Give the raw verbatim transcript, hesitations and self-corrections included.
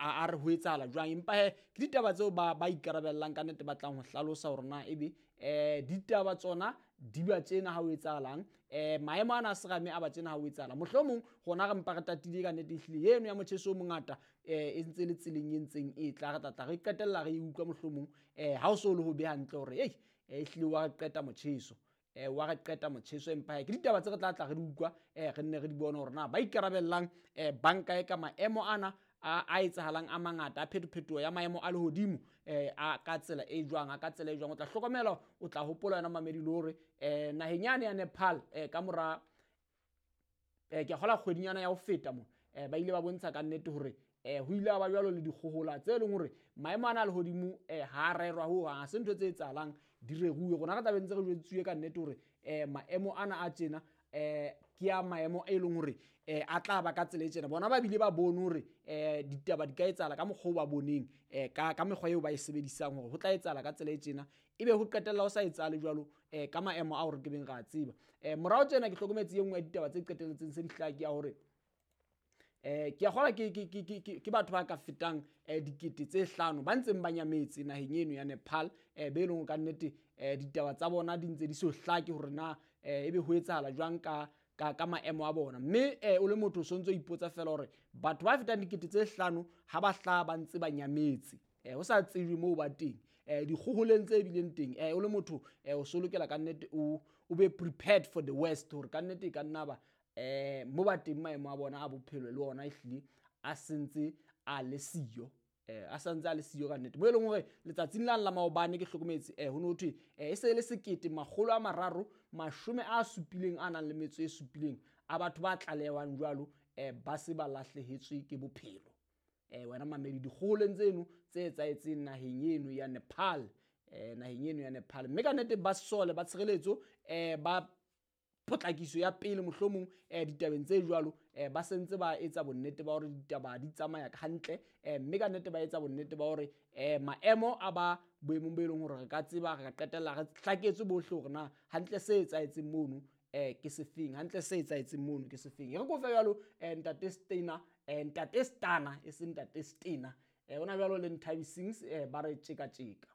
a re ho etsahala jwang. Empa he ke ditaba tseo ba ba ikarabellang ka nnete, ba tlang ho hlalosa hore na ebe um ditaba tsona di ba tjena ha ho etsahalang, um maemo ana a serame a ba tjena ha ho etsahala. Mohlomong rona re mpa re tatile ka nnete, ehlile eno ya motjheso o mongata um e ntse le tseleng e ntseng e tla, re tla tla re qetella re e utlwa mohlomong um ha o so le ho be hantle hore ei ehlile wa re qeta motjheso, eh wa re qeta motjheso. Empa ke ditaba tse re tla tla re di utlwa, eh re nne re di bone hore na ba ikarabellang eh banka e ka maemo ana a a etsahalang a mangata a phetophetoho ya maemo a lehodimo eh a ka tsela e jwang, a ka tsela e jwang. O tla hlokomela, o tla hopola yona mamedi le hore eh naheng yane ya Nepal eh ka mora eh ke a kgola kgwedinyana ya ho feta mo eh ba ile ba bontsha ka nnete hore eh ho ile ba jwalo le dikgohola tse leng hore maemo ana a lehodimo eh ha rerwa ho hang, ha se ntho tse etsahalang di reruwe. Rona re tla be ntse re jwetsuwe ka nnete hore eh maemo ana a tjena eh ke a maemo e leng hore eh a tla ba ka tsela e tjena. Bona ba bile ba bone hore eh ditaba di ka etsahala ka mokgwa o ba boneng eh ka ka mekgwa eo ba e sebedisang hore ho tla etsahala ka tsela e tjena, ebe ho qetella ho sa etsahale jwalo eh ka maemo ao re ke beng ra tseba. Eh morao tjena ke hlokometse e nngwe ya ditaba tse qetelletseng se di hlaha ke ya hore eh ke a kgola ke ke ke ke ke batho ba ka fetang eh dikete tse hlano ba ntseng ba nyametse naheng eno ya Nepal, eh be leng ka nnete eh ditaba tsa bona di ntse di so hlake hore na eh ebe ho etsahala jwang ka ka ka maemo a bona. Mme eh o le motho o sontso ipotsa fela hore batho ba fetang dikete tse hlano ha ba hlaha ba ntse ba nyametse eh ho sa tsejwe moo ba teng, eh dikgoholeng tse bileng teng, eh o le motho eh o so lokela ka nnete o o be prepared for the worst hore ka nnete e ka nna ba eh mo ba teng maemo a bona a bophelo le ona ehlile a sentse a le siyo, eh a santse a le siyo ka nnete. Mo e leng hore letsatsing la la maobane ke hlokometse eh ho no thwe eh e se le sekete makgolo a mararo mashome a supileng a nang le metso e supileng a batho ba tlalehwang jwalo eh ba se ba lahlehetswe ke bophelo. Eh wena mamedi dikgoholeng tseno tse etsahetseng naheng eno ya Nepal, eh naheng eno ya Nepal. Mme ka nnete ba sesole ba tshireletso eh ba potlakiso ya pele mohlomong eh ditabeng tse jwalo eh ba sentse ba etsa bonnete ba hore ditaba di tsamaya hantle, eh mme ka nnete ba etsa bonnete ba hore eh maemo a ba boemong bo e leng hore re ka tseba re ka qetella re hlaketswe bohle hore na hantle se etsahetseng mono eh ke sefeng, hantle se etsahetseng mono ke sefeng. E re ko fe jwalo eh ntate Steiner, eh ntate Stana e seng ntate Steiner, eh ona jwalo le Nthabiseng eh ba re tjeka tjeka.